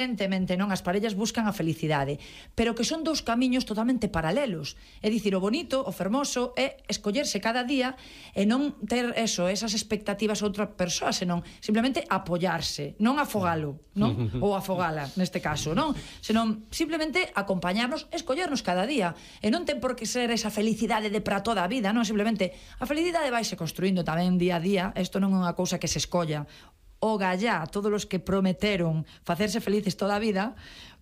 evidentemente non, as parellas buscan a felicidade, pero que son dous camiños totalmente paralelos. É dicir, o bonito, o fermoso é escollerse cada día e non ter esas expectativas a outra persoa, senón simplemente apoiarse, non afogalo, non? Ou afogala, neste caso, non? Senón simplemente acompañarnos, escollernos cada día, e non ten por que ser esa felicidade de para toda a vida, non? Simplemente a felicidade vaise construindo tamén día a día, isto non é unha cousa que se escolla. O gallá, todos os que prometeron facerse felices toda a vida,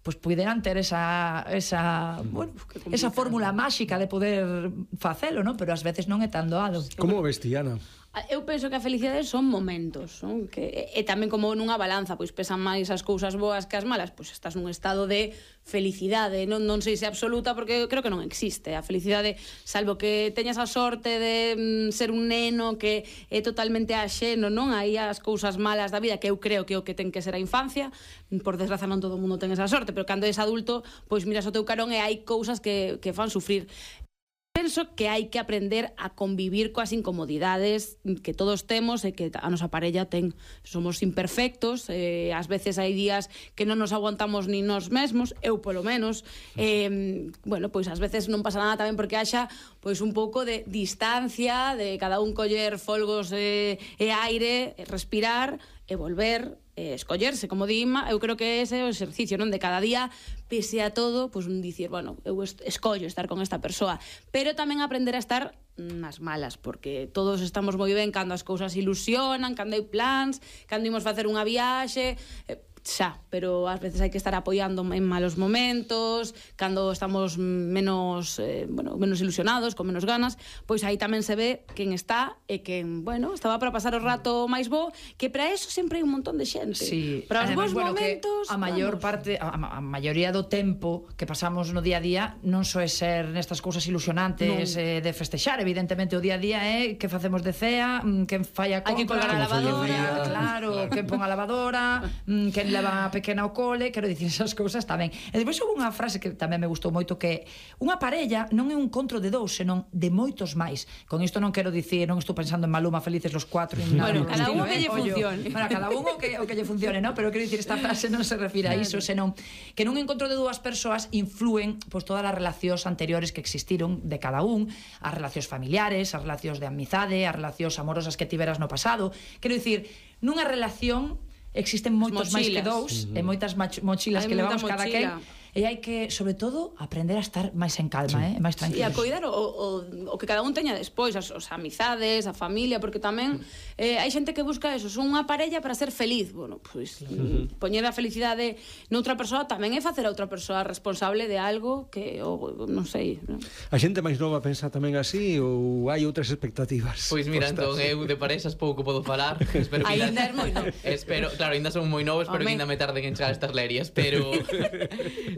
pois puderan ter esa fórmula máxica de poder facelo, non? Pero ás veces non é tan doado. Como ves, Tiana? Eu penso que a felicidade son momentos, non? E tamén como nunha balanza, pois pesan máis as cousas boas que as malas, pois estás nun estado de felicidade, non sei se absoluta, porque creo que non existe a felicidade, salvo que teñas a sorte de ser un neno que é totalmente axeno, non? Aí as cousas malas da vida, que eu creo que é o que ten que ser a infancia, por desgraza non todo o mundo ten esa sorte, pero cando és adulto, pois miras o teu carón e hai cousas que fan sufrir. Penso que hai que aprender a convivir coas incomodidades que todos temos e que a nosa parella ten. Somos imperfectos, ás veces hai días que non nos aguantamos ni nós mesmos, eu polo menos. Bueno, pois ás veces non pasa nada tamén porque haxa pois un pouco de distancia, de cada un coller folgos e aire, respirar e volver, escollerse, como di Inma. Eu creo que ese é o exercicio, non? De cada día, pese a todo, pois dicir, bueno, eu escollo estar con esta persoa, pero tamén aprender a estar nas malas, porque todos estamos moi ben cando as cousas ilusionan, cando hai plans, cando imos facer unha viaxe, xa, pero ás veces hai que estar apoiando en malos momentos, cando estamos menos ilusionados, con menos ganas, pois aí tamén se ve quen está e quen, estaba para pasar o rato máis bo, que para eso sempre hai un montón de xente. Sí. Para os bons momentos, a maior parte, a maioría do tempo que pasamos no día a día non soe ser nestas cousas ilusionantes de festexar, evidentemente o día a día é que facemos de cea, quen fai a compra, hai que colgar a lavadora, claro, quen pon a lavadora, quen leva a pequena ao cole, quero dicir, esas cousas tamén. E depois houve unha frase que tamén me gustou moito, que unha parella non é un encontro de dous, senón de moitos máis. Con isto non quero dicir, non estou pensando en Maluma, felices los cuatro, bueno, cada un que lle funcione. Bueno, cada un o que lle funcione, non? Pero quero dicir, esta frase non se refire a iso, senón que nun encontro de dúas persoas influen pois todas as relacións anteriores que existiron de cada un, as relacións familiares, as relacións de amizade, as relacións amorosas que tiveras no pasado. Quero dicir, nunha relación existen moitos máis que dous e moitas mochilas que levamos cada quen, e hai que, sobre todo, aprender a estar máis en calma, máis tranquilos. E a coidar o que cada un teña despois, as amizades, a familia, porque tamén hai xente que busca eso, son unha parella para ser feliz. Bueno, pois poñer a felicidade noutra persoa tamén é facer a outra persoa responsable de algo que, non sei, non? A xente máis nova pensa tamén así ou hai outras expectativas? Pois mira, entón, eu de parexas pouco podo falar. Ainda é moi novo. Claro, ainda son moi novos, pero ainda me tarden en chegar estas lerias, pero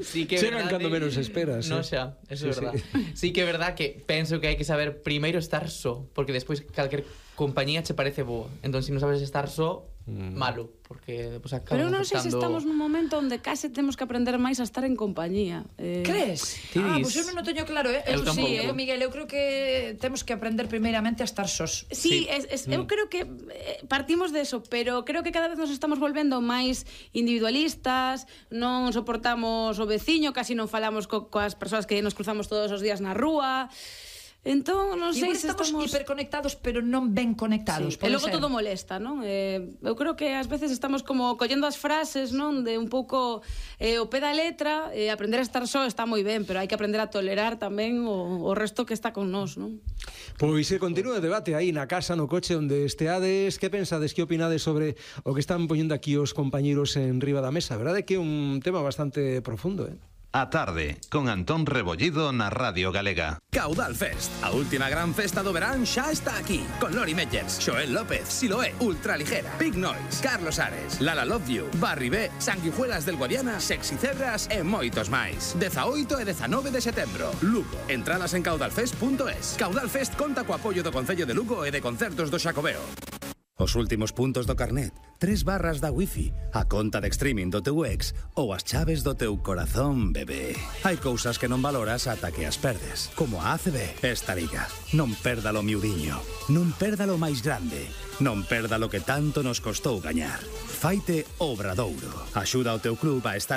sí que é chegan cando menos esperas. Non xa, eso é verdad. Sí que é verdad que penso que hai que saber primeiro estar só, porque despois calquer compañía che parece boa. Entón, se non sabes estar só, malo, porque depois acabamos. Pero non sei se estamos nun momento onde case temos que aprender máis a estar en compañía. Crees? Pois eu non o teño claro, Eu sí, Miguel, eu creo que temos que aprender primeiramente a estar sós. Sí, eu creo que partimos de eso, pero creo que cada vez nos estamos volvendo máis individualistas, non soportamos o veciño, casi non falamos coas persoas que nos cruzamos todos os días na rúa. Entón, non sei se estamos hiperconectados, pero non ben conectados. E logo todo molesta, non? Eu creo que ás veces estamos como collendo as frases, non? De un pouco o pé da letra, aprender a estar só está moi ben, pero hai que aprender a tolerar tamén o resto que está con nós, non? Pois continúa o debate aí na casa, no coche onde esteades. Que pensades, que opinades sobre o que están poñendo aquí os compañeiros en riba da mesa? A verdade é que é un tema bastante profundo, A tarde, con Antón Rebollido na Radio Galega. Caudal Fest, a última gran festa do verán xa está aquí, con Lori Meyers, Xoel López, Siloé, Ultraligera, Big Noise, Carlos Ares, Lala Love You, Barry B, Sanguijuelas del Guadiana, Sexy Cebras e moitos máis. 18 e 19 de setembro, Lugo. Entradas en caudalfest.es. Caudal Fest conta co apoio do Concello de Lugo e de Concertos do Xacobeo. Os últimos puntos do carnet, 3 barras da wifi, a conta de streaming do teu ex ou as chaves do teu corazón, bebé. Hai cousas que non valoras ata que as perdes, como a ACB. Esta liga, non perdalo miudiño, non perdalo máis grande, non perda lo que tanto nos costou gañar. Faite Obradouro. Axuda ao teu club a estar